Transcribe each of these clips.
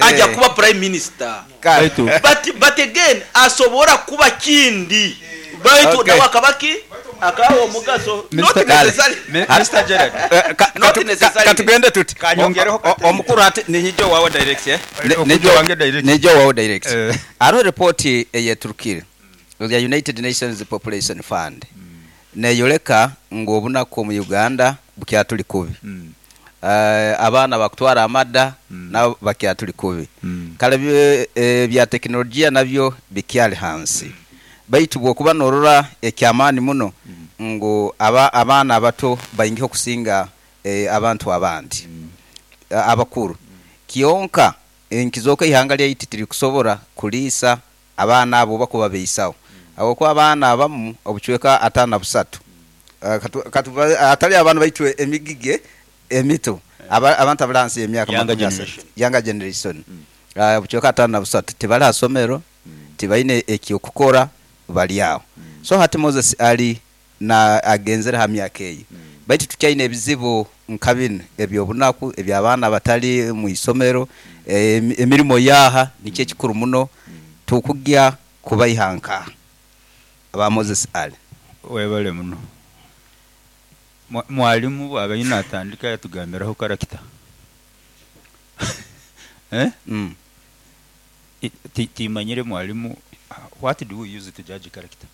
Aja kuba prime minister. Baitu But but again asobora kuba kindi baitu Okay. nawe akaba ki? Akaba w'omugaso. Not Mister Kale. necessarily. Mister Gerald. Not necessarily. Katugende tuti. Kanyongereho kati. Omukuru ati ninyija owawe direct eh? Okujja owange direct. Niija owawe direct. Eh. Hariho ripooti eyeturukire eya United Nations Population Fund neyoreka ngu obunaku omu Uganda bukyaturi kubi. Abaana bakutwara amada nabo bakyaturi kubi. Kale ebya tekinologiya nabyo bikyari hansi. Baitu bwokuba norora ekyamaani muno ngu abaana abato baingiho okusinga abantu abandi abakuru. Kyonka nikizooka eihanga lyaitu tirikusobora kuriisa abaana abo oba kubabeisaho ahabwokuba abaana abamu obucweka 53 hatari abaana baitu emigigi emito abantu abari ahansi y'emyaka Younger makumi asatu, generation. younger generation, obucweka 53 tibari aha somero, tibaine eky'okukora bari aho. So hati Moses Ali na agenzire aha myaka eyo baitu tukyaine ebizibu nka binu eby'obunaku, eby'abaana abatari mu isomero, emirimo yaaha nikyo ekikuru muno tukugya kubaiha nkaha aba Moses Ali? Webale muno. Mwalimu bwaba natandika yatugambiraho karakita. Eh? Timanyire mwalimu, what do we use to judge character?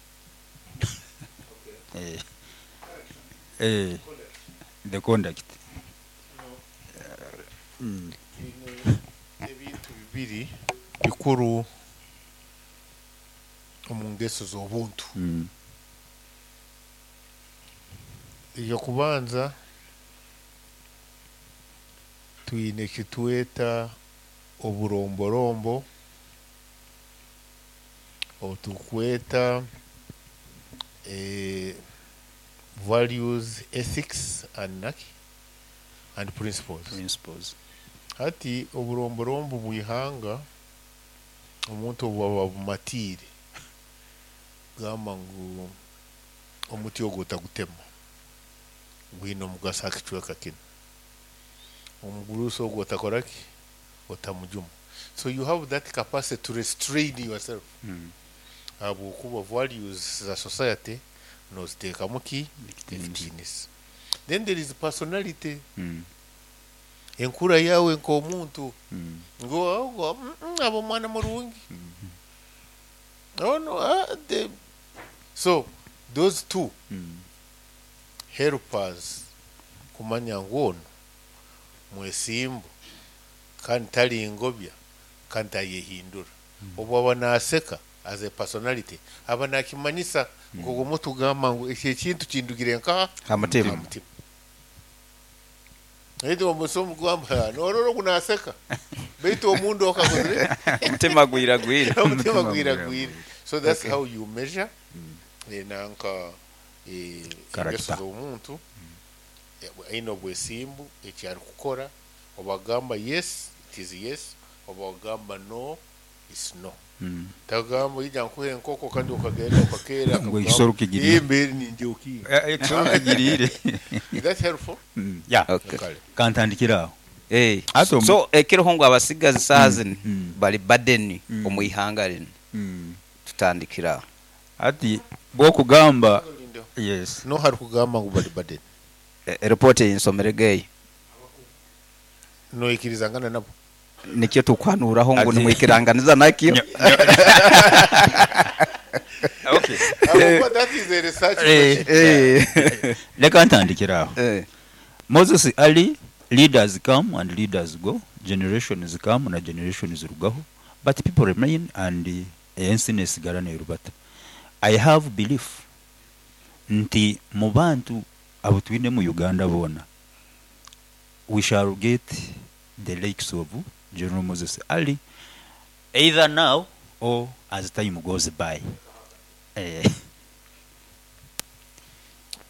Eh, eh, the conduct. Twine ebintu bibiri bikuru omu ngeso z'obuntu. Eky'okubanza twine eki tweta oburomborombo obu turikweta values, ethics and naki and principles. Principles. Hati oburomborombo bw'eihanga omuntu obu aba abumatiire kugamba ngu omuti ogu otagutema gwine omugaso aha kicweka kinu, omugurusi ogu otakora ki? Otamujuma. So you have that capacity to restrain yourself ahabw'okuba values za society noziteekamu ki? Ekitiinisa. Then there is personality. Enkura yaawe nk'omuntu ngu ogu aba omwana murungi. Onu the so those two help us kumanya ngu onu mwesimbu kandi tari ngobya kandi tayehindura. Obu aba naaseka as a personality aba naakimanyisa nk'ogu omuntu kugamba ngu eki ekintu kindugire nkaha? Ha mutima. Ha mutima. Baitu omusi omugamba norora ogu naseka baitu omunda okakozire Omutima gwiragwire. Omutima gwiragwire. So that's how you measure nanka engeso z'omuntu aine obwesimbu eki arikukora obu akugamba yes it is yes obu akugamba no it's no. Tagamba ija nkuhe enkoko kandi okagenda okakeera Ngu ekisoro kigiriire. Mbere ningye okinga. Ekisoro kigiriire. Is that helpful? Yeah. Okay. Kale. Kantandikire aho. Eh, Hati omu- so ekiriho ngu abasigazi saaha zinu bari burden Mm. omu ihanga rinu. Tutandikire aho. Hati bw'okugamba yes. N'oha arikugamba ngu bari burden? Report ei nshomerege eyo. Noikirizangana nabo? Nikyo turikuhanuuraho ngu Ati- nimwikiranganiza nakyo. Okay. Ahabw'okuba that is a research Eh, question. Eh. Leka ntandikire aho. Eh. Moses Ali, leaders come and leaders go, generations come na generations zirugaho, but people remain and ensi nesigara nerubata. I have belief nti mu bantu abu twine mu Uganda boona, we shall get the likes of General Moses Ali either now or as time goes by. Eh.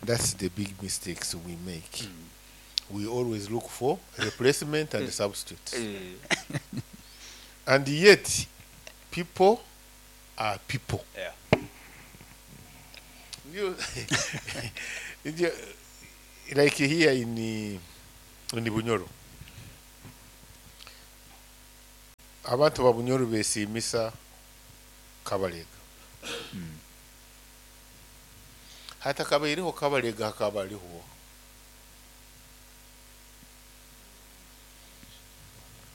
That's the big mistakes we make. We always look for replacement and substitutes. And yet, people are people. You, you, like here in Bunyoro, Abantu ba Bunyoro besiimisa Kabalega. Hatakabaireho Kabalega hakaba hariho oha?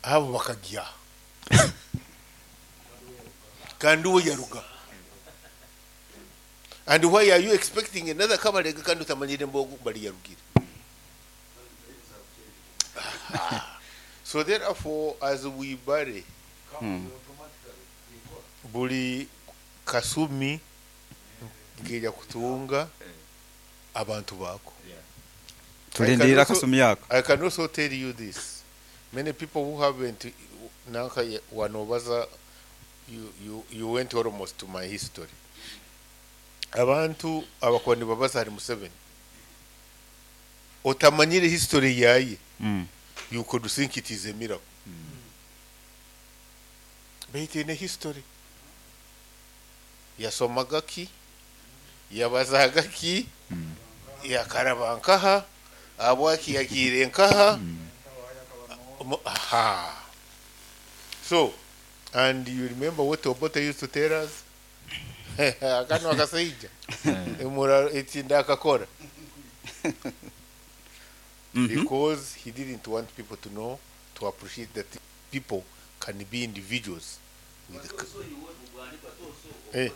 Abo bakagya kandi uwe yaruga. And why are you expecting another Kabalega kandi otamanyire mbogo bari yarugire? So therefore as we bury buri kasumi nkeija kutunga abantu baako. Tulindirire akasumi ako. I can also tell you this. Many people who haven't nanka wanobaza you went almost to my history. Abantu abakuba nibabaza ahari Museveni otamanyire history yaye you could think it is a miracle. Baitu eine history. Yasomaga ki? Yabazaga ki? Yakaraba nkaha? Ahabwaki yagiire nkaha? Aha. So, and you remember what Obote used to tell us? Akano akasaija. Emura etinda akakora. Because he didn't want people to know, to appreciate that people can be individuals. With the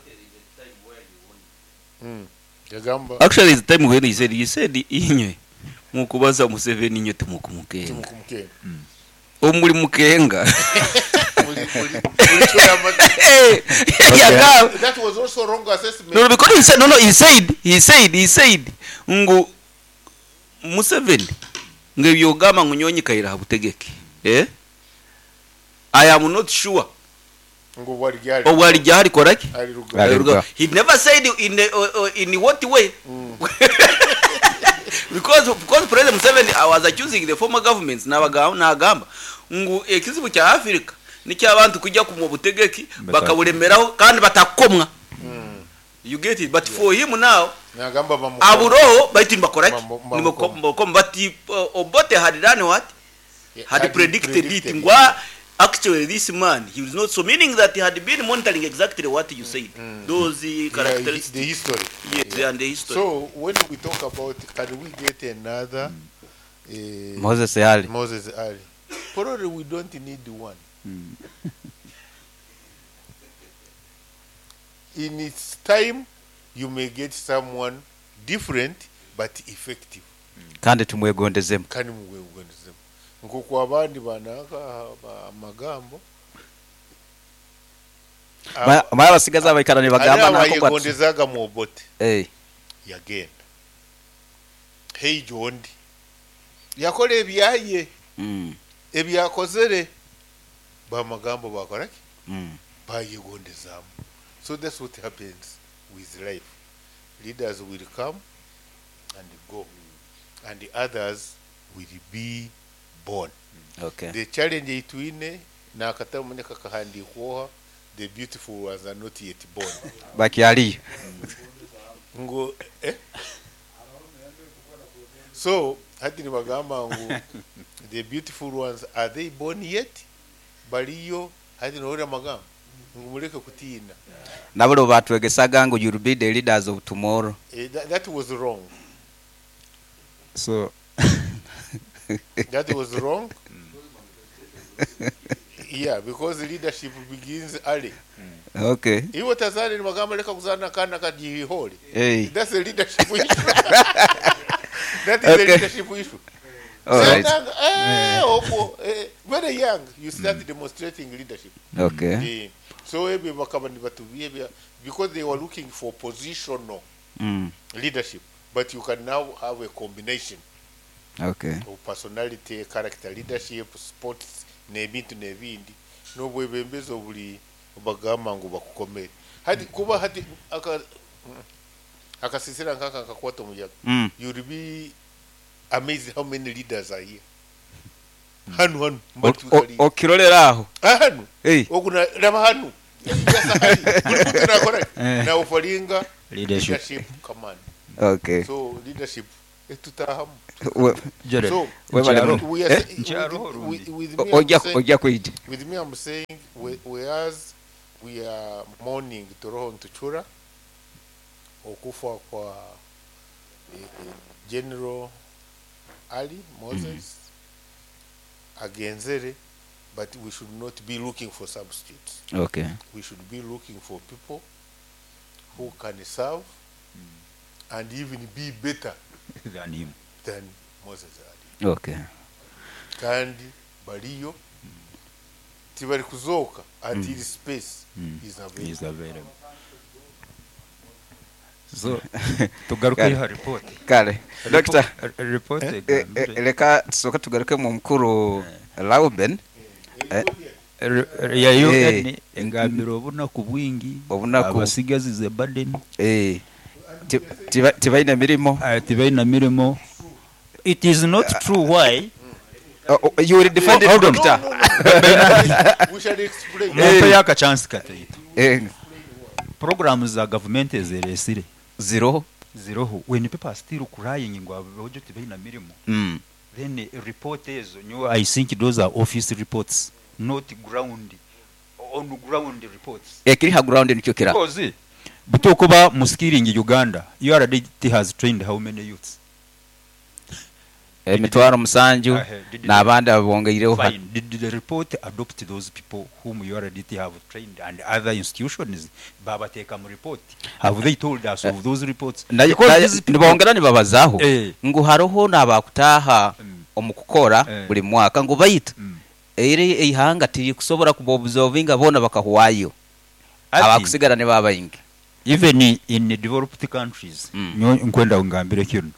Yagamba. Actually, the time when he said, he said, inywe mukubaza Museveni inywe timukumukenga. Timukumukenga. Omuri mukenga. Muri Yagamba. That was also wrong assessment. No, because he said, no, no, he said, he said, he said, ngu Museveni ngu ebyogamba ngu nyonyi kaira habutegeke. I am not sure. Ngu bwari gyari. Obwari gyari koraki? Ari ruga. Ari ruga. He never said in what way. Because President Museveni was accusing the former governments nagamba ngu ekizibu kya Africa niky'abantu kujya ku butegeki bakabulemeraho kandi batakomwa. You get it? But for him now, Nagamba bamu- aburoho baitu nibakoraki? Bamu- Nibakom, but Obote had done what? Yeah, Had had predicted it. predicted it. Ngwa, actually this man, he was not so, meaning that he had been monitoring exactly what you said. Those characteristics. The history. Yes, and the history. So when we talk about, can we get another Moses Ali? Moses Ali. Probably we don't need one. In its time, you may get someone different but effective. Kandi tumwegondezemu. Kandi mumwegondezemu. Nkoku abandi banaka amagambo. Mara abasigazi abaikara nibagamba Ari nako kwati. abayegondezaga mu Obote. Yagenda. Hey Jondi. Yakora ebyaye. Ebyakozere. Bamagambo bakora ki? Bayegondezamu. So that's what happens with life. Leaders will come and go, and the others will be born. The challenge itwine na akatamu kakahandikwoha, the beautiful ones are not yet born. Bakyali. Ngo, So hati nibagamba ngu the beautiful ones are they born yet? Baliyo hati nohura magambo ngu mureke kutiina. Nabo batwegesaga ngu you'll be the leaders of tomorrow. That was wrong. So that was wrong. Yeah, because leadership begins early. Iwe tazari ni magamba leka kuzana kana kajihole. Hey. That's a leadership issue. That is a leadership issue. All right. Opo, very young, you start demonstrating leadership. So ebe bakaba ni batubiye because they were looking for positional leadership, but you can now have a combination. Of personality, character, leadership, sports, n'ebintu n'ebindi. N'obwebembezi obuli bagamba ngu bakukomere. Hati kuba hati akasisira nkaka akakwata omuyaga. You'll be amazed how many leaders are here. Hanu hanu mbatu kali. Okirolera aho. Hanu. Hey. Okuna raba hanu. Buli muntu nakora. Na ofalinga Leadership. leadership command. So leadership etutahamu. Jared, So, Webale nkyaro- muno. we are Eh? Nkyaro with, rundi. with me, I'm Ojja saying, ojja kwija. with me I'm saying whereas we are mourning Toroho Ntuchura okufa kwa General Ali Moses agenzere, but we should not be looking for substitutes. Okay. We should be looking for people who can serve and even be better than him. than Moses Ali. Okay. Kandi bariyo tibari kuzooka until space is available. Is available. So tugaruke Kale. ha report. Kale. Doctor, Report eh, leka tusooke tugaruke mu mukuru Lauben. Ya UN Eh. engambira obunaku bwingi Obunaku. abasigazi ze burden Eh. Tibaine mirimo. Tibaina mirimo. It is not true why Oh, oh, you will defend it, Hold on. doctor. No, no, no. We shall explain. mumpe yakachansi kataito. Eh, Programs za government ezeresire zero. ziroho when people are still crying ngu abojo tibaina mirimo, then report ezo nyo, I think those are office reports, not ground on ground reports. Ekiri ha ground nikyo kira. Because butokuba mu skilling Uganda, URDT has trained how many youths? 700,000 n'abandi abongeireho. Fine. Did the report adopt those people whom URDT have trained and other institutions babateeka mu report? Have they told us of those reports? Because these people- Nibongera nibabazaaho ngu hariho n'abakutaaha omu kukora buri mwaka ngu baitu eri eihanga tirikusobora kubaobservinga boona bakahwayo, abakusigara nibo abaingi. Even in developed countries, nkwenda ngambire kino,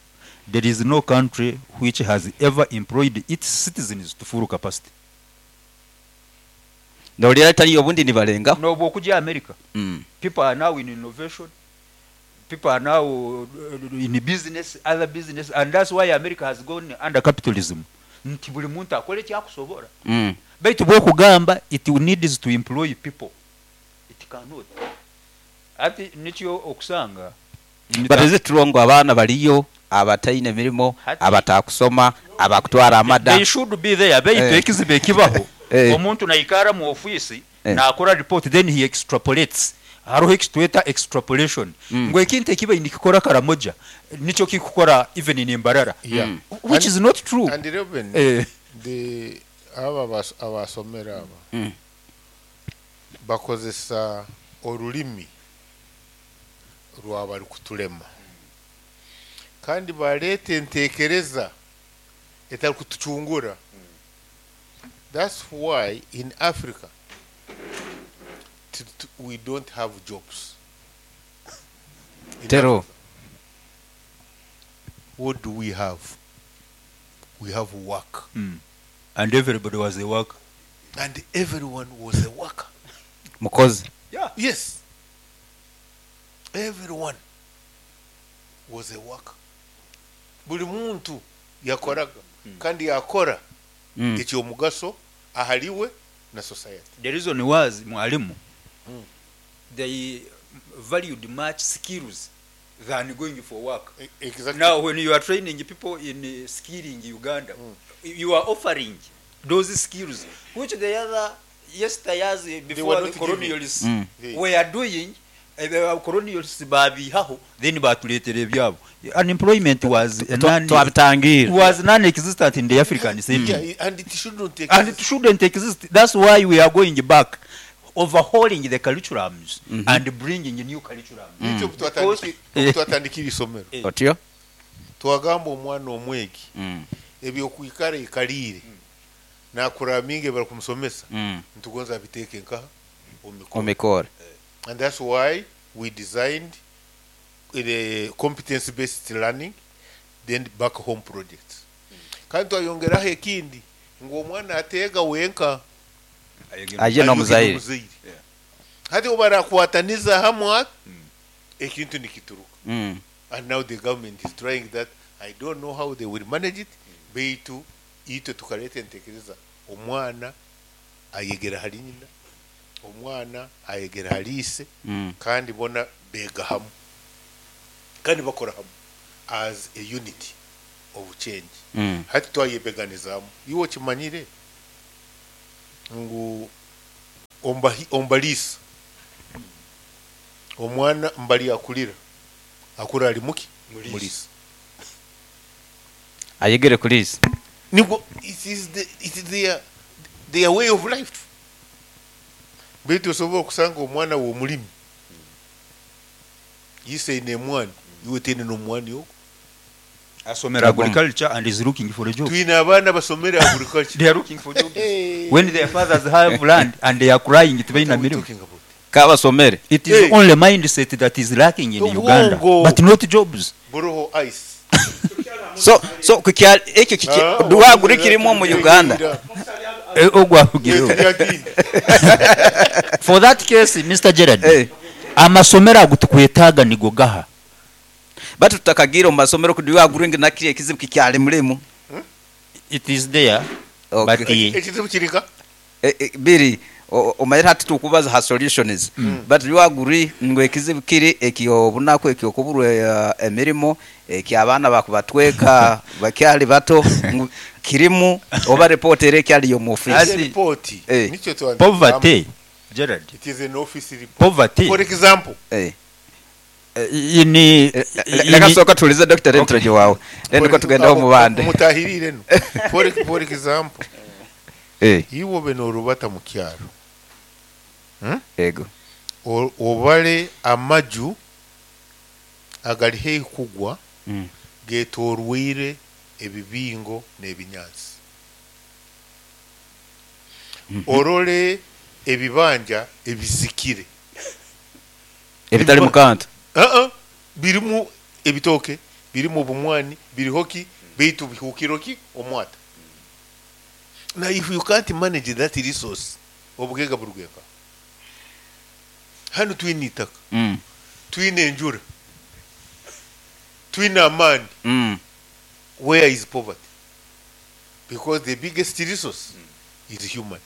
there is no country which has ever employed its citizens to full capacity. Nolira taliyo obundi nibalengaho. Nobu okujya America, people are now in innovation, people are now in business, other business, and that's why America has gone under capitalism, nti buli muntu akole ekyakusobora. Baitu bwokugamba it needs to employ people, it cannot. Ati nikyo okusanga But is it true ngu abaana baliyo abataine mirimo, abatakusoma, abakutwara amada? They should be there, baitu ekizibu ekibaho, omuntu naikara mu ofisi nakora report, then he extrapolates. Hariho ekitweta extrapolation, ngu ekintu ekiba nikikora Karamoja nikyo kikukora even in Mbarara, which is not true. And Reuben, the aba abasomera aba bakozesa orulimi rwabari kutulema kandi bareta entekereza etari kutucungura. That's why in Africa we don't have jobs. In Tero. Africa, what do we have? We have work. And everybody was a worker. And everyone was a worker. Mukozi. Yeah. Yes. Everyone was a worker. Buli muntu yakoraga kandi yakora ekyomugaso ahaliwe na society. The reason was, mwalimu, they valued much skills than going for work. Exactly. Now when you are training people in skilling Uganda, you are offering those skills which the other yesteryears before were the not giving. colonials were doing. Colonials babihaho, then batuleetera ebyabo. Unemployment was a Twabitangira. Was non-existent in the African setting. Yeah, and it shouldn't exist. And it shouldn't exist. That's why we are going back, overhauling the curriculums and bringing new curriculums. Nikyo twatandikira isomero. Otyo. Twagamba omwana omwegi ebyokwikara ikaliire nakuraminga bari kumusomesa, nitugonza abiteeke nkaha omumikoro. Omikoro. And that's why we designed the competence based learning, then back home projects. Kandi twayongeraho ekindi ngu omwana ateega wenka, aje n'omuzaire. N'omuzaire. Hati obarakwataniza hamwe ekintu nikituruka. And now the government is trying that. I don't know how they will manage it, beitu itwe tukaleta entekereza omwana ayegera hali nyina, omwana ayegera hali ise, kandi bona bega hamwe kandi bakora hamwe as a unit obukyengye. Mm. Hati twayebeganizaamu. Iwe okimanyire ngu omu bariisa omwana mbari akurira akura ari muki? Muriisa. Ayegere kuriisa. Nibwo it is the, it is their, their way of life. Beitu osobola okusanga omwana w'omurimi ise aine emwani iwe taine n'omwani ogwo. Asomera agriculture and is looking for a job. Twine abaana abasomere agriculture. They are looking for jobs. When their fathers have land and they are crying tibaine What are we mirimo. talking about? Ka basomere. It is Hey. only mindset that is lacking in Uganda, Obwongo. but not jobs. Buroho ice. So so kukya ekyo kiki Ah, rwaguri kirimu omu Uganda. Eh, ogwo arugireho. For that case, Mr. Gerard, Eh. amasomero ago tukwetaaga nigo gaha. Batu tutakagira omu masomero ku rwaguri ngu nakiri ekizibu kikyali murimu. It is there, Okay. but Ekizibu kiri nka? Biri omanyire hati tukubaza ha solutions but rwaguri ngu ekizibu kiri ekyobunaku ekyokuburwa emirimo ekyabaana bakubatweka bakyali bato ngu kirimu oba report eri ekyali omu office. As- Report. Eh. Nikyo twandika. Poverty, Gerard, It is an office report. poverty. For example, In, Leka sooka tuwulize Dr. Rentroje wawe then niko tugendeho mu bandi. Mutahirire no. For example, iwe obe norubata mu kyaro. Ego. Obare amaju agari haihi kugwa getorweire ebibingo n'ebinyaatsi. Orore ebibanja ebizikire. Ebitari mu kantu. Uh-uh. Birimu ebitooke, birimu obumwani, biriho ki, beitu bihukiro ki omwata. Now if you can't manage that resource, obugaiga burugeka. Hanu twine itaka, twine enjura, twine amaani. Where is poverty? Because the biggest resource is human.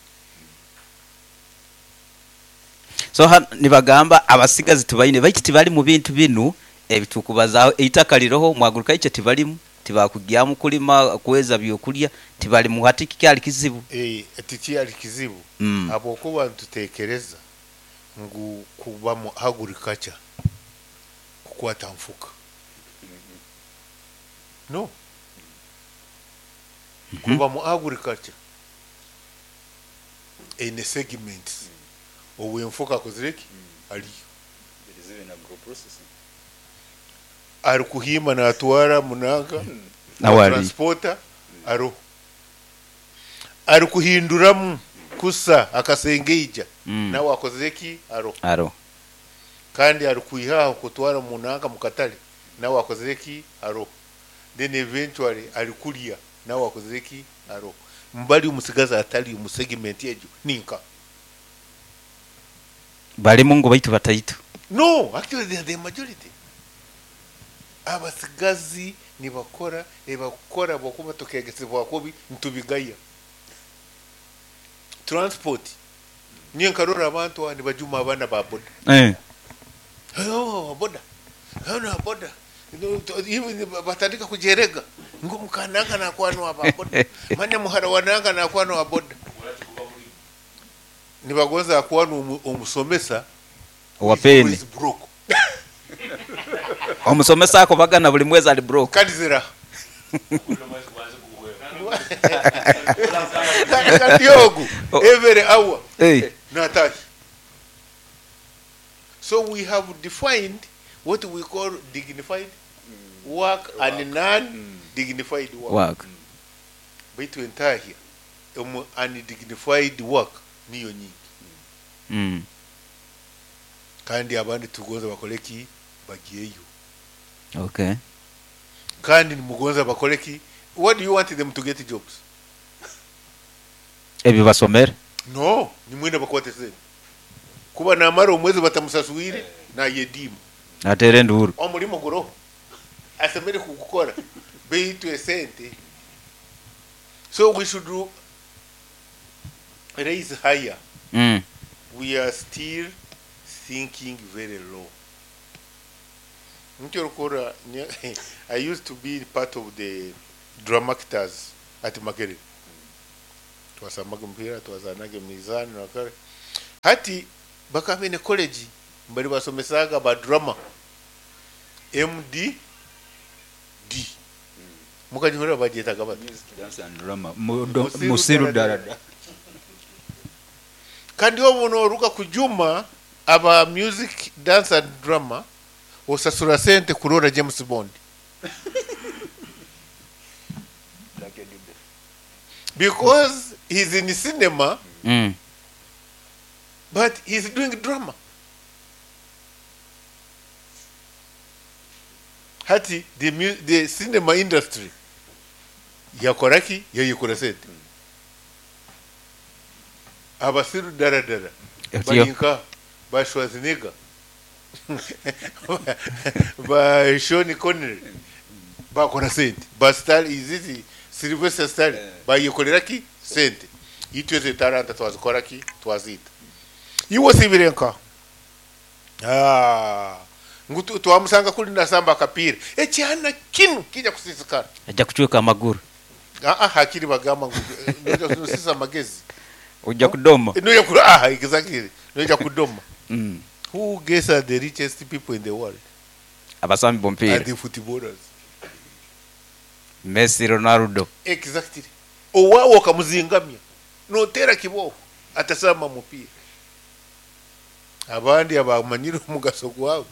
So hano nibagamba abasigazi tubaine baitu tibali mu bintu binu ebitukubazaho eitaka riroho mu agriculture tibalimu tibakugyamu kulima kweza byokulya tibalimu hati kikyali kizibu. Tikyali kizibu. Habwokuba nitutekereza ngu kuba mu agriculture kukwata nfuka. No. Kuba mu agriculture eine segments. Owenfuka akozire ki? Aliyo. Ari kuhima natwara munanga. Nawe ari. Transporter aroho. Ari kuhinduramu kusa akasengeija. Nawe akozire ki? Aroho. Aroho. Kandi ari kwihaho kutwara munanga mukatale. Nawe akozire ki? Aroho. Then eventually ari kulya. Nawe akozire ki? Aroho. Mbali omusigazi atari omu segment egyo ninka. Barimu ngu baitu bataitu. No, actually they are the majority. Abasigazi nibakora ebakora bwokuba tukegesebwa kubi ntubigaya. Transport. Niyo nkarora abantu aha nibajuma abaana ba boda. Oh, boda. Hano boda. Even batandika kujerega. Ngo mukananga nakwano aba boda. Manya muhara wananga nakwano wa boda. Nibagonza akwano omusomesa Owa peni. is broke. Omusomesa ako bagana buli mwezi ali broke. Kandi zira. Kandi ogu every hour. Natash. So we have defined what we call dignified work and non-dignified work. Work. Baitu entahya omu undignified work niyo nyingi. Kandi abandi tugonza bakore ki bagiyeyo. Kandi nimugonza bakore ki? What do you want them to get jobs? Ebyo basomere? No, nimwenda bakwate sente. Kuba namara omwezi batamusasuire nayedimu. Atere enduru. Omurimo guroho. Asemere kugukora. Beitu esente. So we should do raise higher. We are still thinking very low. I used to be part of the drama actors at Makerere. Twasambaga omupiira, twazanaga emizaano nakare. Hati bakaba baine college mbari basomesaga ba drama MDD. Mukagihurira bagyetaga bata? Music, dance and drama. Musiru Darada. Kandi obu noruga kujuma aba music, dance and drama osasura sente kurora James Bond. Because he's in cinema, but he's doing drama. Hati the cinema industry yakoraki yayikora sente. Abasiru daradara barinka ba Schwarzenegger ba Sean Connery bakora sente, ba Star izizi Sylvester Stallone bayikorera ki sente. Itwe ze talanta twazikora ki twazita iwo sibirenka ngu twamusanga kuri nasamba akapira ekyana kinu kija kusisikara ajja kucweka amaguru. Hakiri bagamba ngu noja kusisa amagezi ujja kudoma. Noja ku exactly noja kudoma. Who guess are the richest people in the world? Abasambi b'omupiira. Are the footballers. Messi, Ronaldo. Exactly. Owawo okamuzingamya notera kiboko atasamba mupiira. Abandi abamanyire omugaso gwabo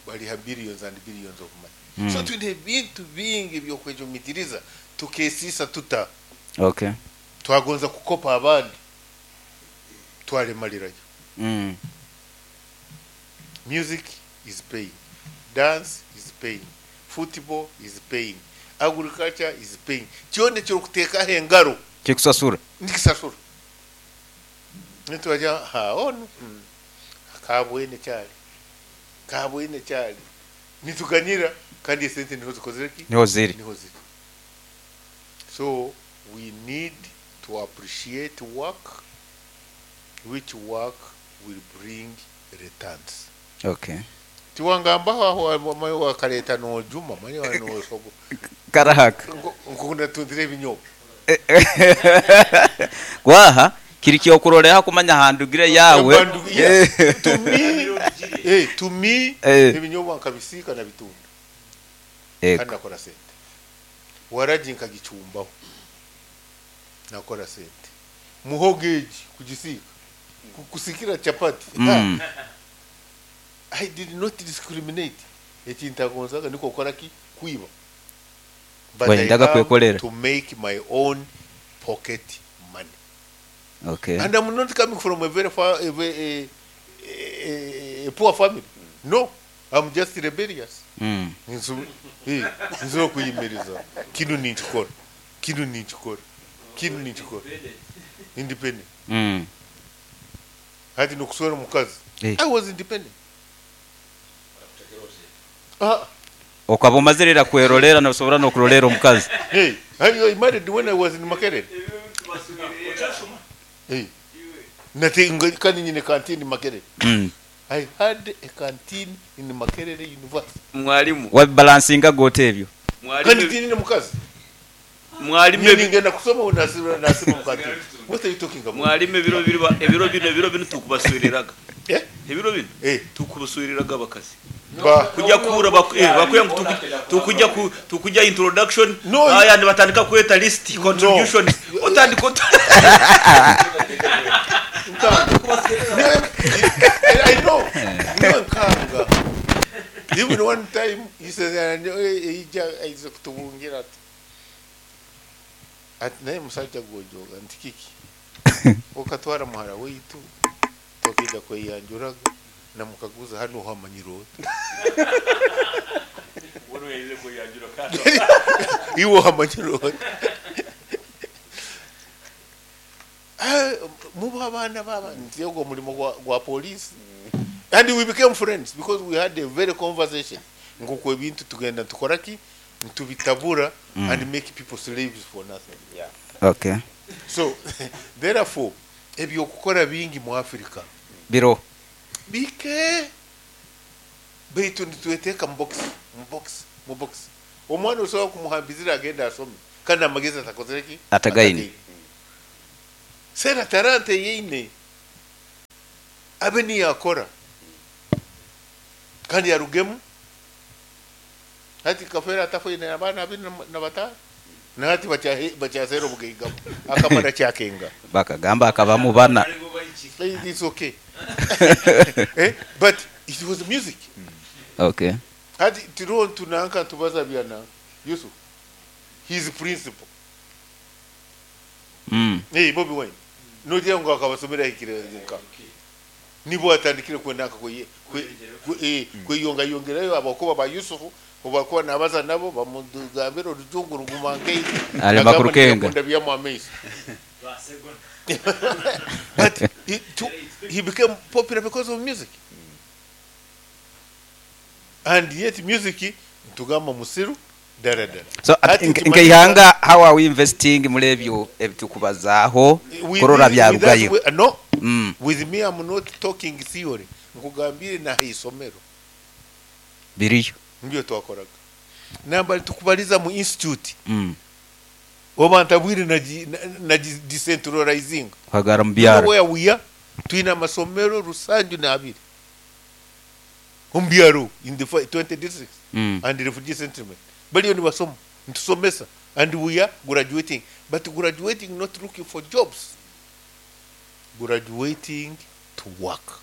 baliha billions and billions of money. So twine ebintu bingi by'okwejumitiriza tukesisa tuta. Okay. Twagonza kukopa abandi twalemalirayo. Music is paying, dance is paying, football is paying, agriculture is paying. Kyona ekirikuteekaho engaro kikusasura. Nikisasura. Nitwaja ha ono kabwene kyali kabwene kyali nituganyira kandi esente niho zikozire ki niho ziri. Niho ziri. So we need to appreciate work, which work will bring returns. Okay. Tiwangambaho aho mayo wakaleta nojuma manyo nosogo karahaka nkukunda tundire ebinyobwa gwaha kiri kyokuroleha kumanya handugire yawe. To me, to me ebinyobwa nkabisika na bitunda kandi nakora sente waraji nkagicumbaho nakora sente muhogeji kugisika kusikira chapati. I did not discriminate. Ekintagonzaga niko kora ki kuiba. But I come to make my own pocket money. Okay. And I'm not coming from a very far, a poor family. No, I'm just rebellious. Nzo kuyimiriza. Kinu ninchikora. Kinu ninchikora. Kinu ninchikora. Independent. Hati nokuswera mukazi. I was independent. Okaba omazirira kwerolera nosobora nokurolera omukazi. Hey, I married when I was in Makerere. Hey. Nothing kandi nyine canteen in Makerere. I had a canteen in Makerere University. Mwalimu. Wa balancinga gote ebyo. Mwalimu kandi mukazi. Mwalimu ngenda kusoma unasima nasima mukati. What are you talking about? Mwalimu ebiro biro ebiro bino ebiro bino tukubaswiriraga. Eh? Ebiro bino? Eh, tukubaswiriraga abakazi. Kujya kura bakuya tukujya tukujya introduction aya batandika kweta list contribution otandika I know. No nkanga. Even one time he said ija aiza kutubungira ati ati naye musajja gwojoga nti kiki okatwara muhara witu tokija kweyanjuraga namukaguza hano hamanyiro iwo hamanyiro muba abana baba nti ogwo mulimo gwa police. And we became friends because we had a very conversation nguko ebintu tugenda tukoraki ntubitabura and make people slaves for nothing. Yeah. Okay. So therefore ebyokukora bingi mu Africa biro bike baitu nitweteka mu box mu box mu box. Omwana osobola kumuhambizira agende asome kandi amagezi atakozire ki? Atagaine. Sera talanta eyeine abe niyo akora kandi arugemu. Hati Kafeero atafoine abaana abiri na bataano na hati bakyaseera obugaiga bwe akamara kyakenga. Bakagamba akabamu bana. It's okay. Eh, but it was music. Okay. Hati tiriho ntunanka ntubaza bya nanka Yusuf his principal. Eh, Bobi Wine. Nogira ngu akabasomera ahikire nka. Nibwo atandikire kwenda nka kwe, kwe, kwe, eh, kweyongayongerayo abakuba ba Yusuf obakuba nabaza nabo bamugambira orujungu ruguma nkeyi. Arema kurukenga. Akunda byamu amaiso. But he became popular because of music. And yet music ntugamba musiru dara dara. So Hati nkeihanga how are we investing muri ebyo ebitukubazaaho kurora byarugayo? No. With me I'm not talking theory. Nkugambire na isomero. Biriyo. Nibyo twakoraga. Namba tukubaliza mu institute. Oba ntabwire na decentralizing. Kwagara mu byaro. Where we are twina amasomero rusanju na abiri. Mu byaro in the 20 districts and the refugee settlement. Baliyo ni basoma, ntusomesa and we are graduating, but graduating not looking for jobs. Graduating to work.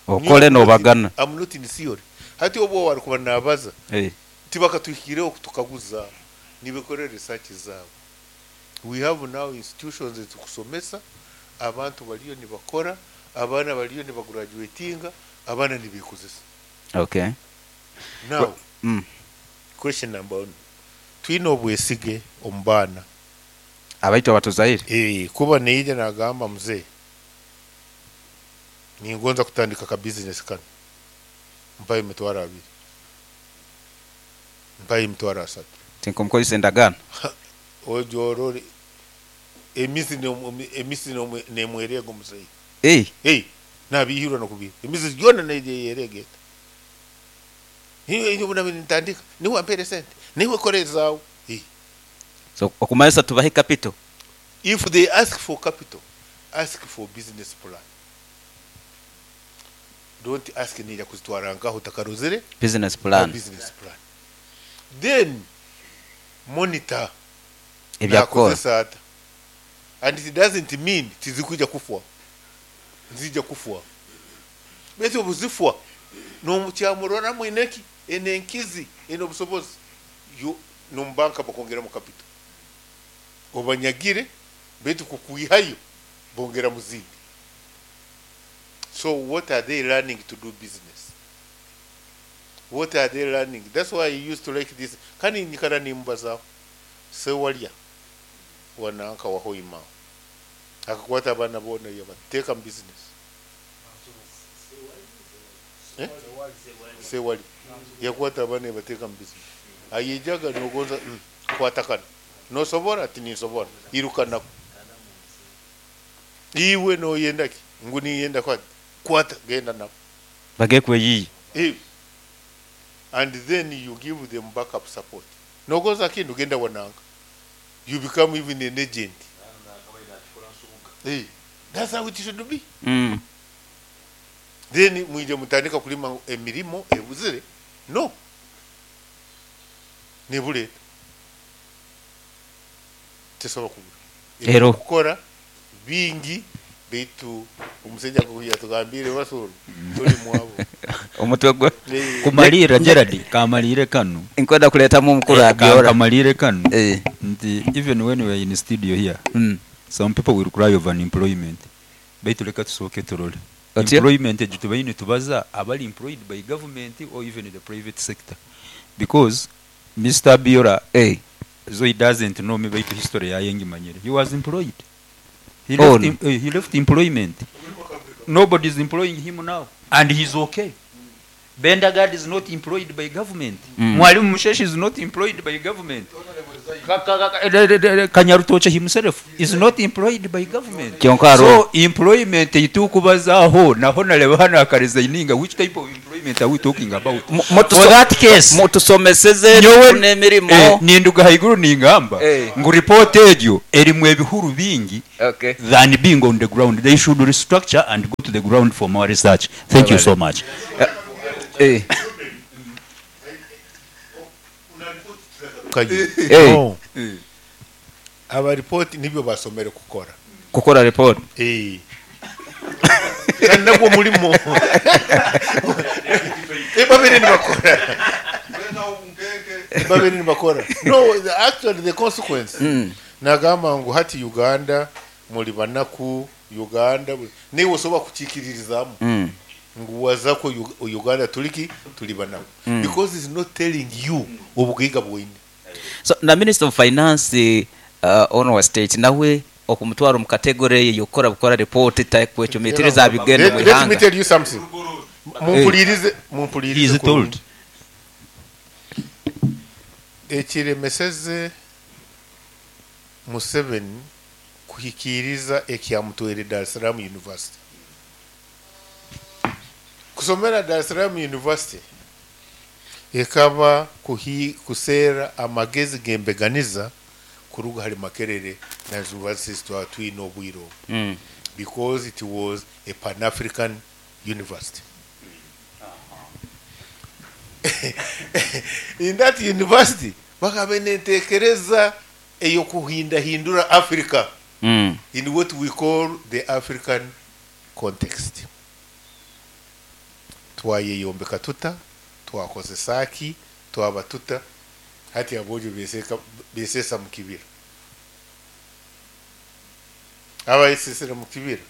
Okole no bagana. I'm not in theory. Hati obo wari kuba nabaza. Tibakatuhikireho kutukaguza nibikore research zabo. We have now institutions ezikusomesa abantu baliyo nibakora, abana baliyo nibagraduatinga, abana nibikozesa. Okay. Now, question number 1. Twine obwesige omu baana. Abaitu abatuzaire. Kuba neija nagamba mzee ningonza kutandika ka business kano. Mpaye emitwaro abiri. Mpaye emitwaro asatu. Tinkumkozesa endagaano. Ojorore emisi emisi nemwerego mzee. Nabihirwa nokubira. Emisi yona neyeregeta. Hiyo hiyo buna nitandika. Niwe ampere sente. Niwe kore zawo. So okumayisa tubahe capital. If they ask for capital, ask for business plan. Don't ask nija kuzitwara nkaho takarozere business plan. Business plan. Then monitor ebyakora. And it doesn't mean tizikuja kufwa. Nzija kufwa. Bese obuzifwa no kyamurora mwineki enenkizi eno busobozi yo no banka bakongera mu capital. Obanyagire betu kukuihayo bongera muzindi. So what are they learning to do business? What are they learning? That's why I used to like this. Kani nikara nimbaza sewalya wananka wahoima. Akakwata abana bona yabateka mu business. Sewali yakwata abana yabateka mu business. Ayijaga nogonza kwatakana. Nosobora ati nisobora. Irukana. Iwe no yenda ki? Nguni yenda kwa kwata genda nako. Bagekwe yiyi. And then you give them backup support. Nogoza kindu genda wananga. You become even an agent. That's how it should be. Then mwije mutandika kulima emirimo ebuzire. No. Nibule. Tesobola kubura. Ero. Kukora bingi bitu omusajja yatugambire basoro tuli mwabo. Omutwe gwe kumalira Gerard kamalire kanu. Nkwenda kuletamu omukuru abyora. Kamalire kanu. Nti even when we are in studio here, some people will cry of unemployment. Baitu leka tusooke turole. Employment egyo tubaine tubaza abali employed by government or even the private sector. Because Mr. Biora, so he doesn't know me baitu history yayengimanyire. He was employed. He left, he left employment. Nobody is employing him now. And he's okay. Bendagard is not employed by government. Mwalimu Musheshi is not employed by government. Kanyarutoche himself is not employed by government. So employment itukubazaho naho nareba hano akaresigninga which type of employment employment are we talking about? Mutuso- For that case, mutusomeseze nyowe n'emirimo ninduga haiguru ningamba Eh. ngu report egyo erimu ebihuru bingi Okay. than being on the ground. They should restructure and go to the ground for more research. Thank you so much. Eh. Kayi. Eh. No. Abaripoti nibyo basomere kukora. Kukora report. Eh. Kandi nagwo mulimo. Eh, babiri nibakora. Babiri nibakora. No, actually the consequence. Nagamba ngu hati Uganda muri banaku Uganda niwe osobola kukiikiririzaamu ngu wazako Uganda tuliki tuli banaku because it's not telling you obugaiga bwoine. So na Minister of Finance ono wa state nawe okumutwara omu category eyo yokukora bukora report takwecumitiriza aha bigenda omu Let me ihanga. tell you something. Mumpulirize, mumpulirize. He is told. Ekiremeseze Museveni kuhikiriza ekyamutwere Dar es Salaam University. Kusomera Dar es Salaam University ekaba kuseera amagezi gembeganiza kuruga hari Makerere na universities twatwine obwire obu. Because it was a Pan-African university. In that university bakabe nentekereza eyokuhindahindura Africa in what we call the African context. Twayeyombeka tuta, twakozesa ki, twaba tuta, hati abojo besesa mu kibira. Abayesesera mu kibira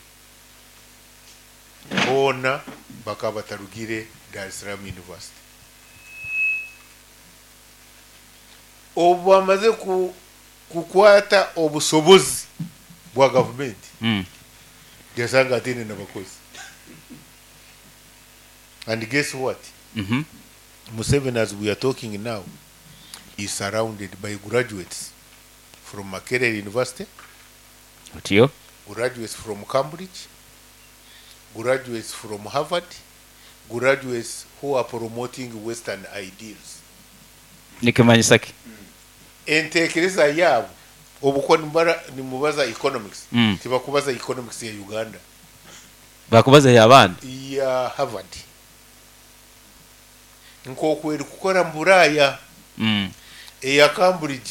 boona bakaba batarugire Dar es Salaam University. Obu bamaze kukwata obusobozi bwa gavumenti, yasanga atene n'abakozi. And guess what? Museveni, as we are talking now, is surrounded by graduates from Makerere University, Otyo. graduates from Cambridge, graduates from Harvard, graduates who are promoting Western ideals. Nikimanyisa ki? Entekereza yabo obuko nimubaza economics. Tibakubaza economics ya Uganda. Bakubaza ya abandi. Ya Harvard. Nk'oku eri kukora mu Buraaya. Eya Cambridge.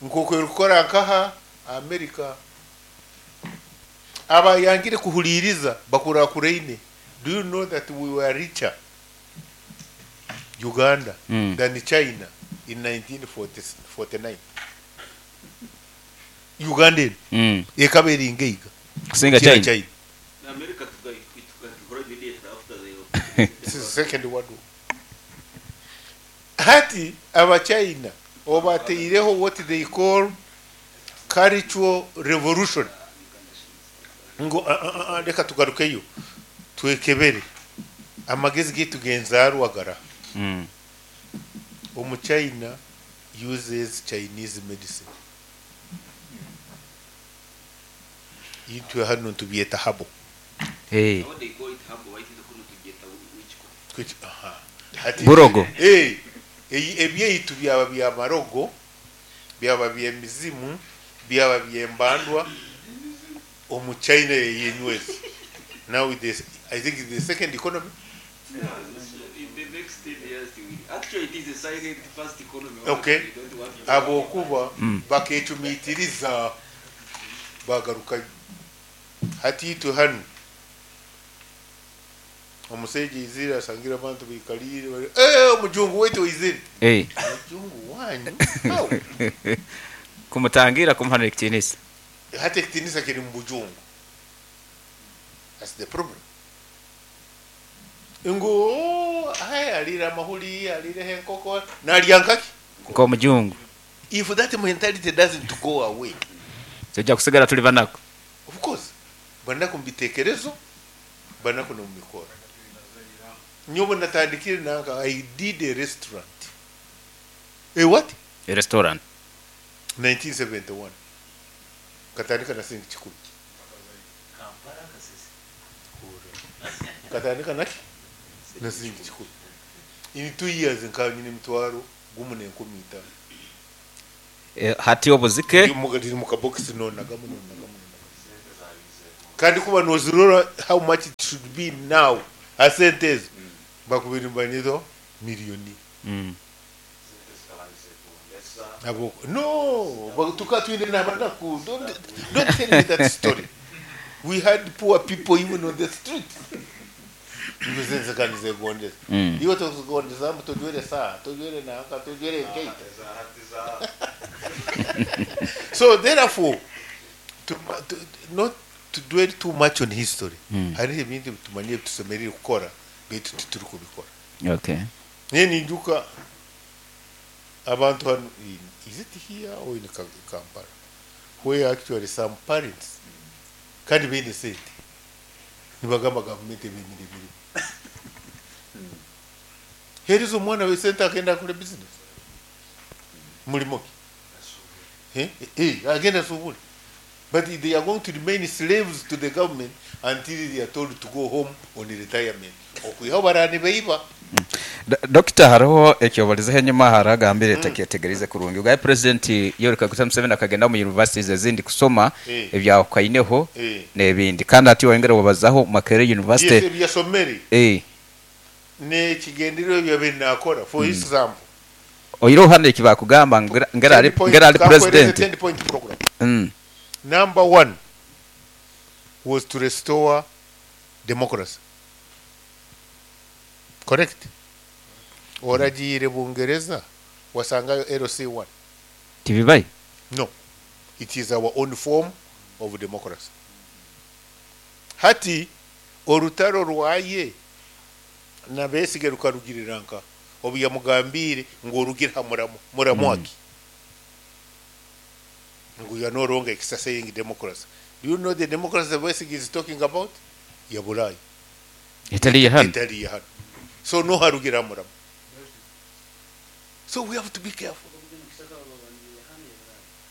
Nk'oku eri kukora nkaha America. Abayangire kuhuliriza bakurakureine. Do you know that we were richer Uganda than China in 1949? Uganda eno ekaba eri ngeiga. Kusinga Kira China. China. America tukahora immediately after the This is the second world war. Hati abachina obateireho what they call cultural revolution. Ngo reka tugarukeyo twekebere amagezi gitu genzarwagara. Omuchina uses Chinese medicine. Itwe hano tubyeta habo. Hey. What they call it habo, why is it called tubyeta witchcraft? Which, aha. Hati, Burogo. Ebyeitu byaba bya marogo, byaba by'emizimu, byaba by'embandwa, omuchina yeyenyweza. Now this, I think it's the second economy. In the next 10 years, actually it is a silent first economy. Okay. We don't want to- Abokuba bakecumitiriza bagaruka hati itwe hano omusajja izire asangira abantu bikalire bari, omujungu wetu izire. Omujungu wanyu how? Kumutangira kumuhanura ekitinisa. Hati ekitinisa kiri mu bujungu. That's the problem. Ngu oh, hai alira amahuri alira enkoko nalya nkaki. Nk'omujungu. If that mentality doesn't go away, Tujja kusigara tuli banaku. Of course, banaku mu bitekerezo, banaku no mu mikoro. Nyobo natandikire nanka, I did a restaurant. A what? A restaurant. 1971. Katandika na singi kikumi. Katandika naki? Na siringi kikumi. In 2 years nkaba nyine emitwaro 1015. Hati obuzike. Riri mu kabokisi, nonagamu, nonagamu, nonagamu. Kandi kuba nozirora how much it should be now, asente ezo bakubiri mbanyizo miliyoni. Abo no tukatwine n'abanaku. Don't tell me that story. We had poor people even on the street. Nze kandi zegondeza. Iwe tozigondeza mbu tojwere saa, tojwere nanka, tojwere enkaito. So therefore, not to dwell too much on history. Hariho ebintu tumanyire tusemerire kukora, baitu tituri kubikora. Naye ninjuka abantu hano is it here or in Kampala, where actually some parents kandi baine sente nibagamba gavumenti ebemire emirimu, hereza omwana we sente agenda akore business. Mulimo ki? Eh? Eh, agenda asubule. But they are going to remain slaves to the government until they are told to go home on retirement, okwihaho barani baiba. Dokita, hariho ekyobalizeho enyuma, haragambire takyetegerize kurungi ugaye President Yoweri Kaguta Museveni akagenda mu universities ezindi kusoma ebyahukaineho n'ebindi, kandi hati wayongera wabazaho Makerere University. Yes, ebyasomere n'ekigendererwa byabe nakora, for example, oyireho hano eki bakugamba ngera ari ngera ari president. 10 point program. Number one was to restore democracy, correct? Oragiire Bungereza wasangayo LC1? Tibibaye. No, it is our own form of democracy. Hati orutaro rwaye na Besigye rukarugirira nka obu yamugambire ngu orugire ha muramo muramwaki ngu you are no longer exercising democracy. Do you know the democracy that Besigye is talking about ya Burayi? Etali hano. Etali hano. So no harugira muramo. So we have to be careful.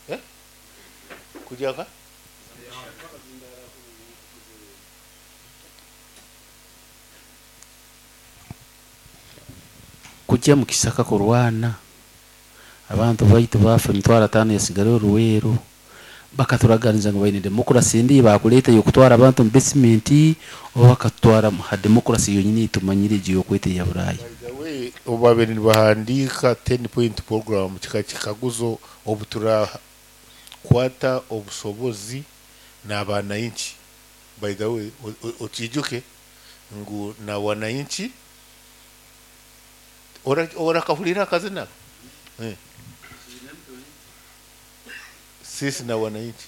Eh? Kujaka. Kujya mu kisaka kurwana, abantu baitu bafa, 5,000 yasigara oruweero. Bakaturaganiza ngu baine demokrasi ndi bakuleeta yokutwara abantu mu basement, oba bakatutwara ha demokrasi yonyini tumanyire egi yokweta eya Burayi. By the way, obu nibahandiika 10 point program, kika kikaguzo obu turakwata obusobozi n'abananchi. By the way, okijuke ngu na wananchi orakahurira akazina, eh. Sisi na wananchi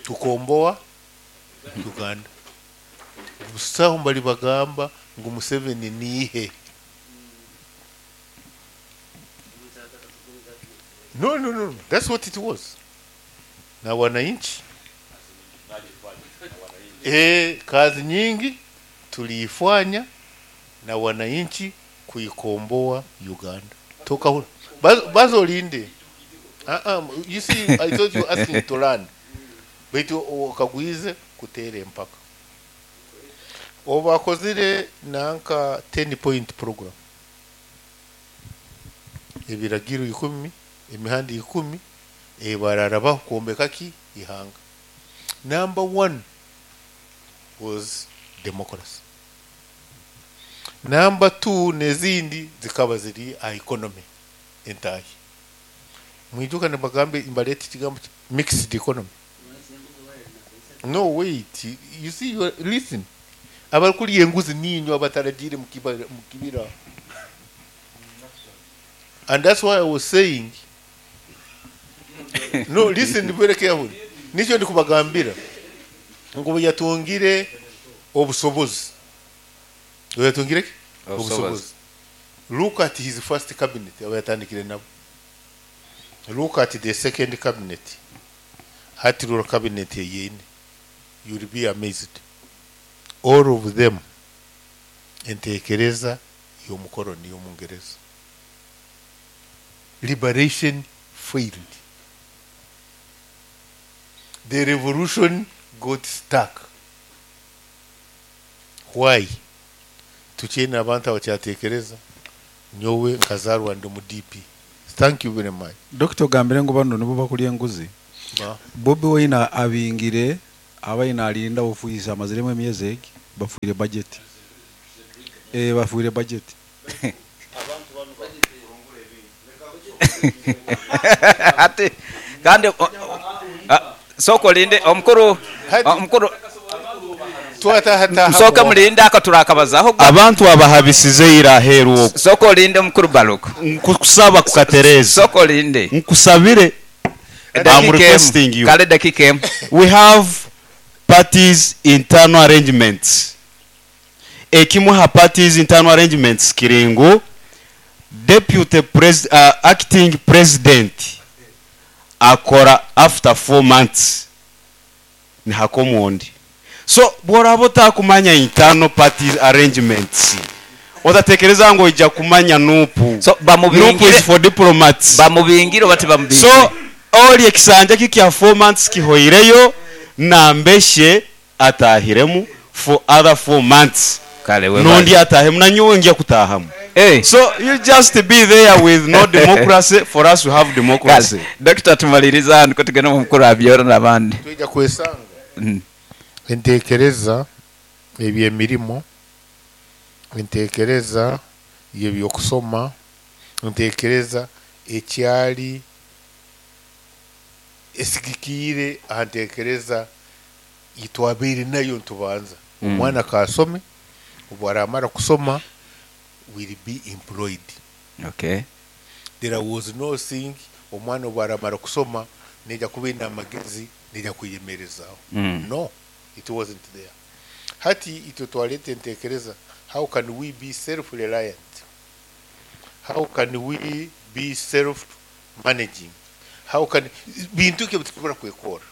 tukomboa Uganda. Busaho mbali bagamba ngu Museveni nihe. No, no, no, that's what it was. Na wananchi, kazi nyingi tuliifanya na wananchi kuikomboa Uganda. Toka hula bazolinde. You see, I thought you asking to learn, baitu okagwize kuteera empaka. Obu bakozire nanka 10 point program, ebiragiro 10, emihanda 10 ebararabaho kwombeka ki ihanga, number one was democracy. Number two n'ezindi zikaba ziri aha economy entahi. Mwijuka nibagambe mbaleta ekigambo mixed economy. No, wait, you see, you are, listen, abarikurya enguzi ninywe abataragiire mu kibira. And that's why I was saying, no, listen very carefully. Nikyo ndikubagambira ngu bwe yatungire obusobozi, bwe yatungire ki? Obusobozi. Obusobozi. Look at his first cabinet aba yatandikire nabo. Look at the second cabinet, hati ruro cabinet eyine, you'll be amazed. All of them entekereza y'omukoroni y'omungereza. Liberation failed, the revolution got stuck. Why? Tukyaine abantu abakyatekereza nyowe nkazarwa ndi omu DP. Thank you very much. Dokita ogambire ngu banu nibo bakurya enguzi. Ba. Bobi Wine abingire abaine narinda ofiisi amaziremu emyezi egi bafuire budget. Eh bafuire budget. Hati kandi sooka olinde omukuru omukuru musooke mulinde ako turakabazaho. Abantu abahabisize ira aheeru okwo. Sooka olinde omukuru Baluku. Nkukusaba kukatereeza. Sooka olinde. Nkusabire. I'm Edakiika emu. requesting you. Kale edakiika emu. We have parties internal arrangements. Ekimwe aha parties internal arrangements kiri ngu deputy pres acting president akora after 4 months nihakoma ondi. So bworaba otakumanya internal party arrangements otatekereza ngu oija kumanya Nup. So Nup is bamubingire for diplomats. Bamubingire oba tibamubingire? So ori ekisanja ki kya 4 months kihoireyo nambeshe atahiremu for other 4 months Kale nondi webale. atahemu nanyowe ngya kutahamu. Eh. So you just be there with no democracy for us to have democracy. Kale Dokita tumaliriza hanu kutugenda omu mukuru Abyoro n'abandi. Twija kwesanga entekereza eby'emirimo, entekereza y'ebyokusoma, entekereza ekyali esigikiire aha ntekereza yitwabaire nayo nitubanza. Omwana kasome, obu aramara kusoma will be employed. Okay. There was no thing omwana obu aramara kusoma neija kuba aine amagezi neija kweyemerezaho. No, it wasn't there. Hati itwe twaleta entekereza how can we be self-reliant? How can we be self-managing? How can bintu ki ebitusobora kwekora?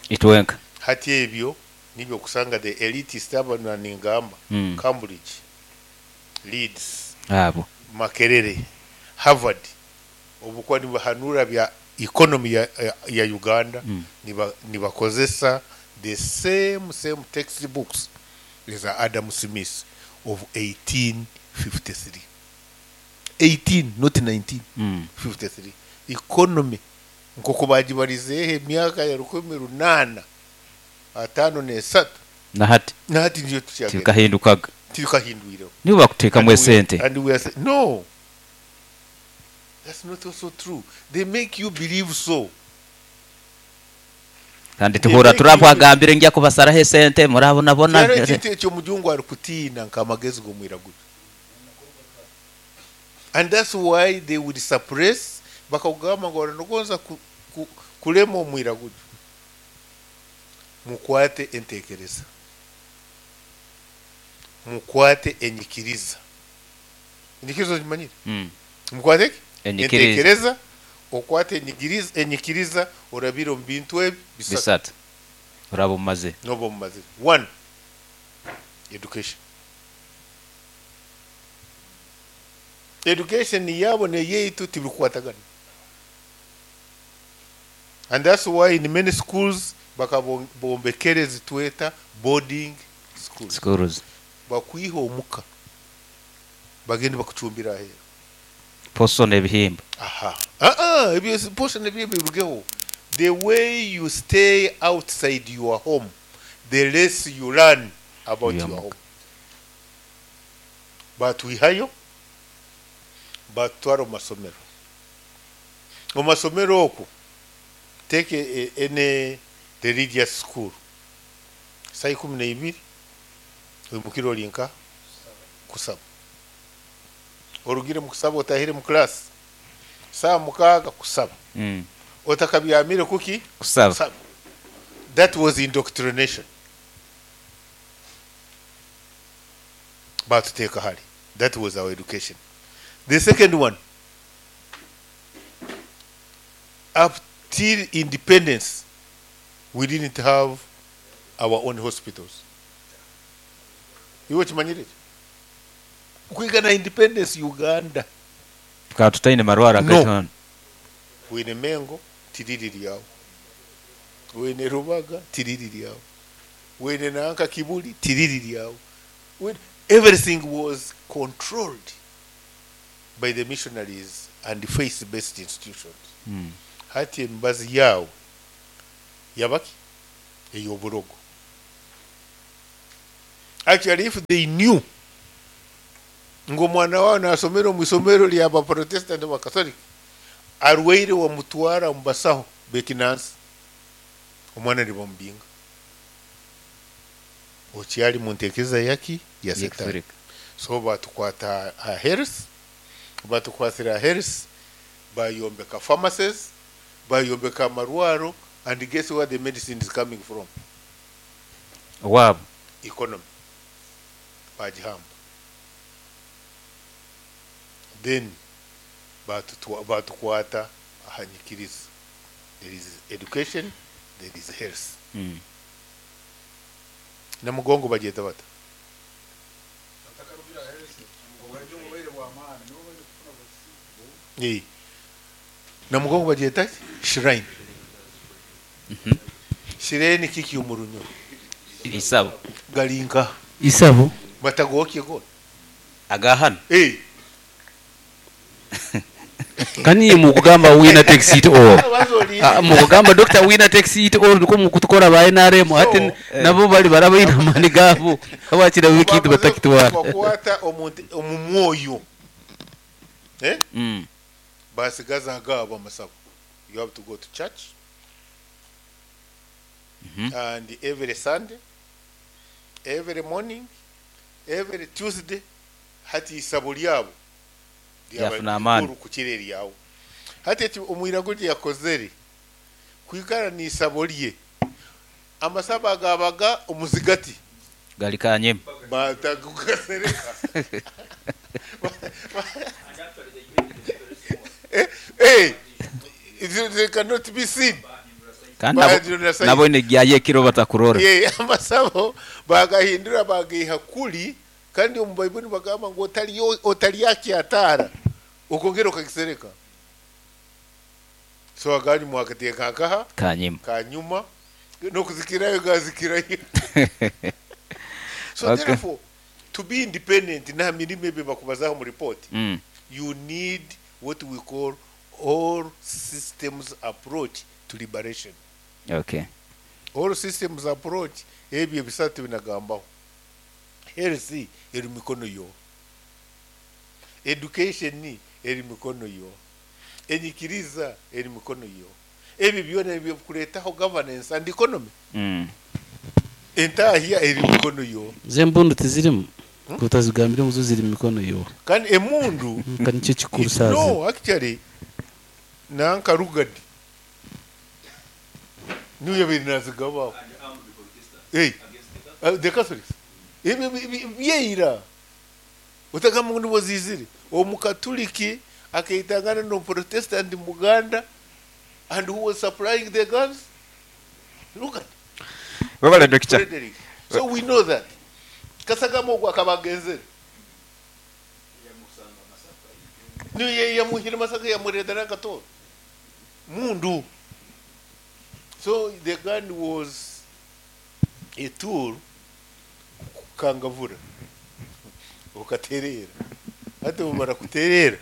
Itwenka. Hati ebyo nibyo okusanga the elitist aba ningamba Cambridge, Leeds, Abo. Makerere, Harvard obukuba nibahanura bya economy ya, ya, ya Uganda nibakozesa the same same textbooks eza Adam Smith of 1853. 18 not 19 53 economy nk'oku bagibarizeeho emyaka ya 1853 Na hati na hati niyo tukyagenda tibikahindukaga. Tibikahindwireho. Nibo bakuteekamu esente. And we are saying, no, that's not also true. They make you believe so. Kandi tuhura Trump agambire ngya kubasaraho esente murabonabona. Kyaro ekintu ekyo omujungu arikutiina nk'amagezi g'omwiraguju. And that's why they would suppress bakakugamba ngu oranogonza kulema omwiraguju. Mukwate entekereza. Mukwate enyikiriza. Enyikiriza ogimanyire? Mukwate ki? Enyikiriza. Entekereza, okwate enyikiriza, enyikiriza orabire omu bintu ebi bisatu. Bisatu. Oraba omumaze. Noba omumaze. One, education. Education yabo neyeitu tibikukwatagana. And that's why in many schools bakabombekere zitweta boarding schools. Schools. Bakwiha omuka bagende bakucumbira aheeru. Poso n'ebihimba. Aha. Ebyo poso n'ebihimba birugeho. The way you stay outside your home, the less you learn about your home. Batwihayo batutwara omu masomero. Omu masomero okwo take any religious school. Saa 12 oimukire ori nka kusaba. Orugire mu kusaba otahire mu class. Saa 6 kusaba. Otakabyamire kuki? Kusaba. Kusaba. That was indoctrination. Batuteka hali. That was our education. The second one, up till independence, we didn't have our own hospitals. Iwe kimanyire? Kwigana independence Uganda. Tukaba tutaine marwara No. gaitano. Wine Mengo tiriri lyawo. Wine Rubaga tiriri lyawo. Wine Nanka Kibuli tiriri lyawo. Wine Everything was controlled by the missionaries and faith based institutions. Hati emibazi yaawe yaba ki? Ey'oburogo. Actually if they knew ngu omwana waawe naasomera omu isomero rya ba Protestant oba Catholic, arwaire wamutwara omu basaho b'ekinansi, omwana nibamubinga. Okyari mu ntekereza yaki? Ya Setaani. So batukwata aha health, batukwasire aha health, bayombeka pharmacies, bayombeka amarwaro and guess where the medicine is coming from? Owaabo. Economy. Bagihamba. Then batukwata aha nyikiriza. There is education, there is health. Namugongo bagyeta bata? Eh, Namugongo bagyeta ki? Shrine. Shrine kiki omu Runyoro? Isabo. Gari nkaha? Isabo. Batagokye goona? Aga hanu? Eh. Ka niiwe mukugamba winner takes it all. Mukugamba Dokita winner takes it all nikwo mukutukora ba nrm hati nabo bari baraba baine amaani gaabo habwaki nabo ekintu batakitwara. Kubakwata omu mwoyo eh basigaza agaabo amasabo you have to go to church and every Sunday every morning every Tuesday hati isabo ryabo ryaba Ryafuna amaani. rikuru kukira eryawe. Hati eki omwiraguju yakozere kwikara n'isabo rye amasabo agabaga omuzigati Gari kanyima. Batakugasereka. Eh, eh, they cannot be seen. Kandi nabo Bahindura size. nabo negyayo ekiro batakurora. Yeah, amasabo bagahindura bagaiha kuri kandi omu Baibuli nibagamba ngu otaryakyataara okongera okagisereka. So aganyuma wakateeka nkaha? Kanyima. Kanyuma n'okuzikirayo gazikirayo. So Okay. therefore to be independent n'aha mirimo ebi bakubazaho omu report you need what we call all systems approach to liberation. Okay. All systems approach ebyo ebisatu binagambaho. Health eri mikono yo. Education eri mikono yo. Enyikiriza eri mikono yo. Ebyo byona ebyokuretaho governance and economy. Entahya eri mikono yo. Zo embundu tizirimu? Ku otazigambire ngu zo ziri mu mikono yo. Kandi emundu Ka nikyo kikuru saaha zinu. No, actually nanka Rugard niwe yabaire nazigabaho. Hey, the Catholics. Ebyo byeira. Otagamba ngu nibwo ziizire. Omukatuliki akaitangana n'omuprotestant Muganda and who was supplying the guns? Look at Webale Dokita. Frederick. So we know that. Kasagama ogwo akaba agenzere. Niyo yamuhire Masaka yamureetera akatooro. Mundu. So the gun was a tool kukangavura okatereera. Hati obumara kutereera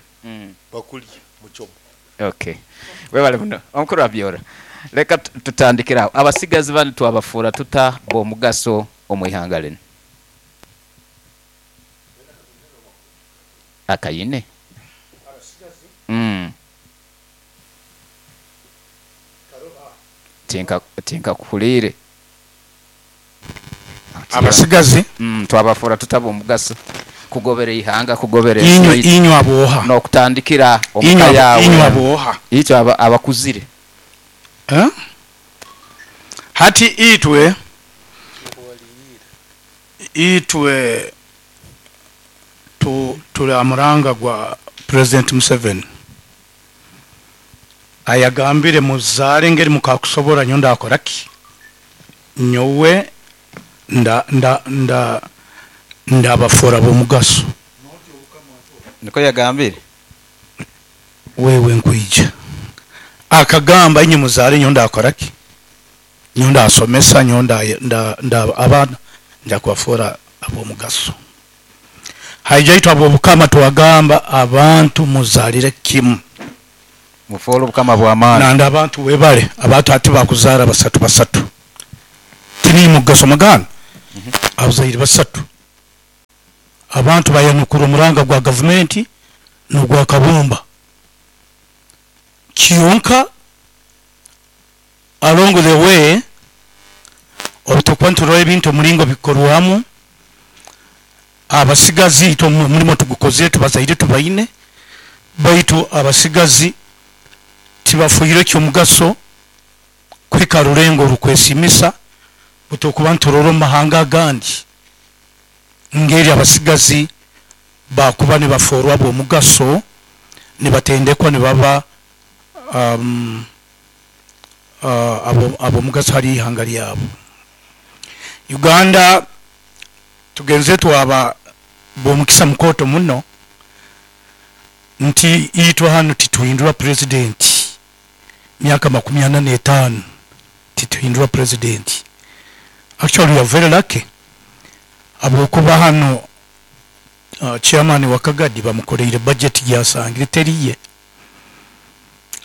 bakurya muchomo. Okay. Webale muno. Omukuru Abyora. Leka tutandikire aho. Abasigazi banu twabafuura tuta b'omugaso omu ihanga rinu? Akayine. Tinka tinkakuhuriire. Abasigazi? Twabafuura tuta b'omugaso kugobera eihanga, kugobera ensi Inywe yaitu. inywe ab'oha? N'okutandikira omu Inywe ka abo- yaawe. inywe ab'oha? Itwe abakuzire. Eh? Hati itwe itwe tu, turi aha muranga gwa President Museveni ayagambire muzaare engeri mukakusobora nyowe ndakora ki? Nyowe nda nda nda ndabafora b'omugaso. Nikwo yagambire. Wewe nkwija. Akagamba inywe muzaare nyowe ndakora ki? Nyowe ndasomesa, nyowe nda, nda, nda abaana nja kubafora ab'omugaso. Haija itwe ab'Obukama twagamba abantu muzaalire kimu. Mufoole Obukama bw'amaani. Nandi abantu webale, abantu hati bakuzaara basatu basatu. Tiniimwe mukugasoma gaanu? Abazaire basatu. Abantu bayanukura omuranga gwa gavumenti n'ogwa Kabumba. Kyonka along the way obu turikuba niturora ebintu omuringo bikorwamu, abasigazi itwe omurimo tugukozire tubazaire tubaine baitu abasigazi tibafoire ekyomugaso kuhika aha rurengo orukwesiimisa obu turikuba niturora omu mahanga agandi ngeri abasigazi bakuba nibafoorwa ab'omugaso nibatendekwa nibaba ab'omugaso ahari eihanga ryabo. Uganda tugenzire twaba b'omukisa mukooto muno nti itwe hanu tituhindura purezidenti myaka 45 tituhindura purezidenti. Actually we are very lucky ahabw'okuba hanu chairman wa Kagadi bamukoreire budget gyasangire teriye.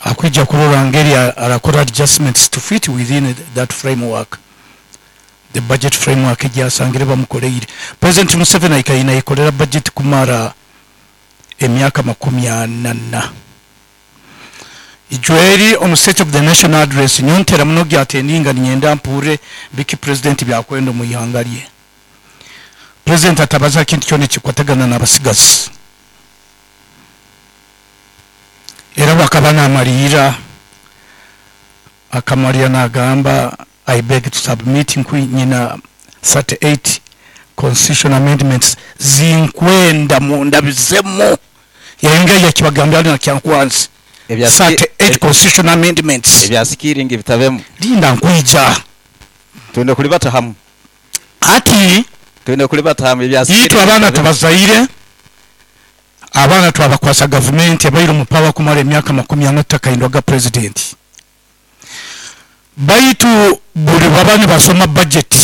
Akwija kurora ngeri arakora adjustments to fit within that framework, the budget framework egyasangire bamukoreire. President Museveni aikaire nayekorera budget kumara emyaka 40 na. Ijweri omu State of the Nation Address nyowe ntera muno gyatendinga niinyenda mpurire biki President byakwenda omu ihanga rye. President atabaza aha kintu kyona ekikukwatagana n'abasigazi. Era obu akaba namariira, akamariira nagamba I beg to submit nku nyina 38 constitutional amendments zinkwenda mundabizemu. Yayongera yakibagambira hanu na Kyankwanzi. 38 constitutional amendments. Ebya sikiringi bitabemu. Linda nkwija. Twine kulibata hamu. Hati Twine kulibata hamu ebya itwe sikiringi abaana bitabemu. tubazaire, abaana twabakwasa gavumenti ebaire omu power kumara emyaka 40 tutakahindwaga president. Baitu buri baba nibasoma budget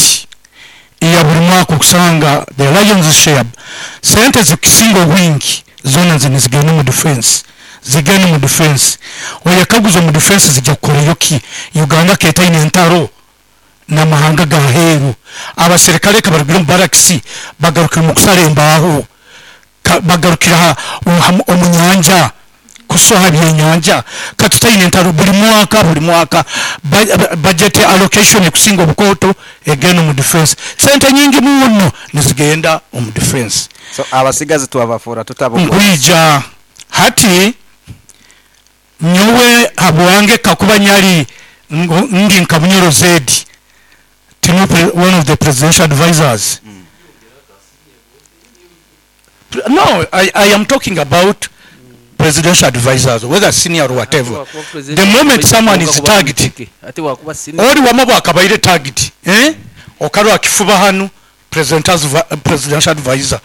eya buri mwaka okusanga the lion's share sente zikusinga obwingi zoona nizigenda omu defense, zigenda omu defense. Oyekaguza omu defense zija kukorayo ki? Uganda ketaine entaro n'amahanga g'aheeru. Abaserikare kabarugire omu barracks bagarukire omu kusara embaaho, bagarukire omu nyanja kusoha ebyenyanja. Katutaine entaro buri mwaka, buri mwaka budget allocation ekusinga obukooto egenda omu defense. Sente nyingi muno nizigenda omu defense. So abasigazi twabafuura tutabo. Nkwija hati nyowe habwange kakuba nyari ndi nka Munyoro Zedi, tinu one of the presidential advisors. No, I am talking about presidential advisors, whether senior or whatever. The moment someone is tagged, ori wama bwakabaire tagged, eh? Okarwa kifuba hanu presidential advisor.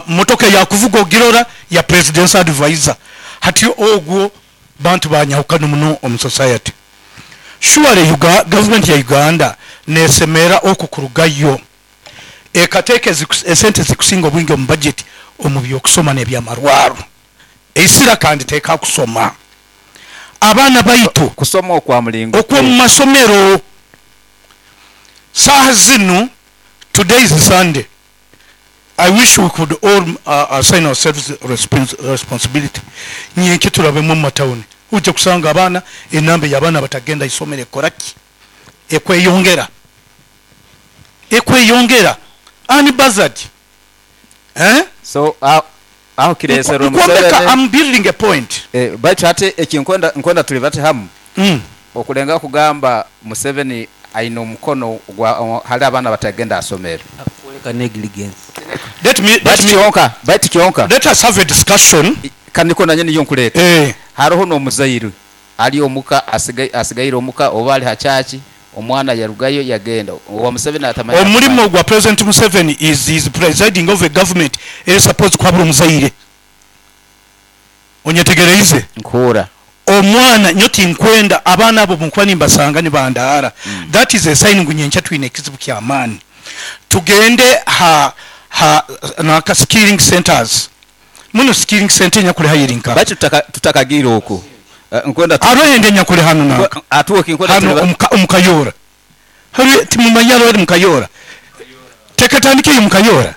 Motoka yakuvuga ogirora ya presidential advisor. Hati ogwo bantu banyahukana muno omu society. Surely government ya Uganda nesemera okukurugayo ekateeka esente zikusinga obwingi omu budget omu by'okusoma n'ebyamarwaro. Eisira kandi teeka kusoma abaana baitu kusoma okwa mulingo okw'omu masomero. Saaha zinu, today is Sunday, I wish we could all assign ourselves responsibility. Nyenke turabemu omu matawuni ujja kusanga abaana enamba y'abaana batagenda isomero ekoraki ekweyongera, ekweyongera unbuzzard, eh? So aho kireserwe Nkombeka, Museveni. I'm building a point. Baitu hati eki nkwenda tuli bati hamu. Okulenga kugamba Museveni aine omukono gwa hali abaana batagenda asomero. Akwoleka negligence. Let me, let Baitu me, kyonka, baitu kyonka. Let us have a discussion. Kaniko nanye niyo nkuleeta. Haroho n'omuzaire ali omuka asigaire omuka oba ali ha church, omwana yarugayo yagenda owa Museveni atamanya. Omurimo gwa President Museveni is presiding over government eri supposed kuhabura omuzaire. Onyetegereize? Nkuhura. Omwana nyo tinkwenda abaana abo bunkuba nimbasanga nibandaara. That is a sign ngu nyenkya twine ekizibu ky'amaani. Tugende ha Ha nanka skilling centers. Mbwenu skilling center enyakuri haihi eri nkaha? Baitu tutakagiire okwo, nkwenda. Hariho endi enyakuri hanu nanka hanu omu Kayoora. Hariho, timumanyire hariho eri mu Kayoora? Tekatandika eyo mu Kayoora?